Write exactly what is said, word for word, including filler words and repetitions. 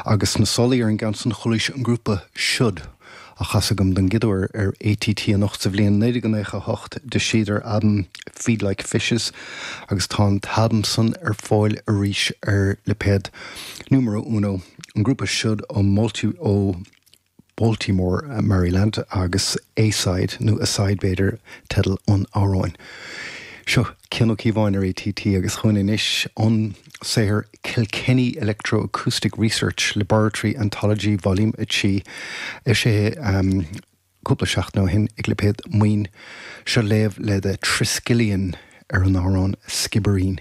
Agus sna sálaí ar an gceann san chualaís an grúpa Should a chasadh agam don gcéad uair ar ATT anocht sa bhliain naoi déag nócha a hocht d'eisigh albam Feed Like Fishes agus tá an t-albam san ar fáil arís ar lipéad Numero Uno an grúpa Should ó multi ó Baltimore, Maryland agus A-side nó A-side b'fhéidir teideal an amhráin. Seo Cian Ó Cíobháin ar ATT agus chugainn anois an saothar Kilkenny Electroacoustic Research Laboratory Anthology Volume a trí eisithe um, cúpla seachtain ó shin ag lipéad Maoin seo léamh le The Triskelion ar an amhrán Skibbereen.